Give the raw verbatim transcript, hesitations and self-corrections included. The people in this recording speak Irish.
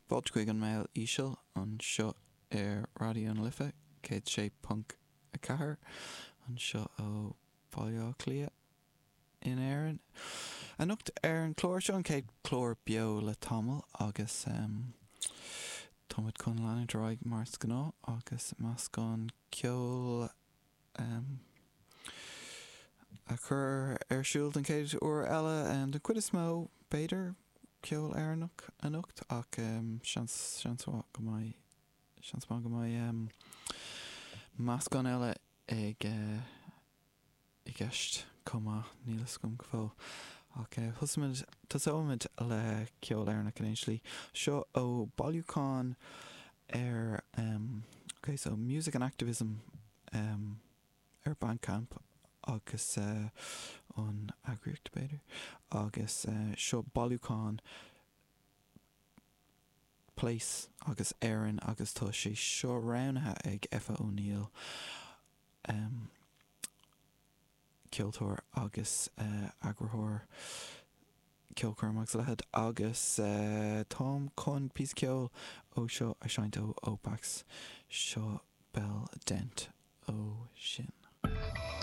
Fáilte chuig an Mbéal Íseal anseo ar Raidió na Life céad sé ponc a ceathair anseo ó Bhaile Átha Cliath in Éirinn. Anocht ar an chlár seo an chéad chlár beo le tamall agus um, táimid chun leanúint ar aghaidh mar is gnáth agus meascán ceoil um, a chur ar siúl den chéad uair eile um, den chuid is mó b'fhéidir ceol Éireannach anocht ach um, seans seans go mbeidh seans maith go mbeidh um, meascán eile ag uh, i gceist chomh maith níl a fhios agam go fóill. Ach uh, tosóimid le ceol Éireannach in aon slí seo ó bailiúchán ar um, okay, so music and activism um, ar Bandcamp agus uh, an eagraíocht b'fhéidir agus uh, seo bailiúchán Place agus Éirinn agus tá sé seo roghnaithe ag Effa O'Neill um, ceoltóir agus uh, eagarthóir ceolchoirm agus leithéid agus uh, táim chun píosa ceoil ó seo a sheinnt ó Opax seo Bell Dent ó sin.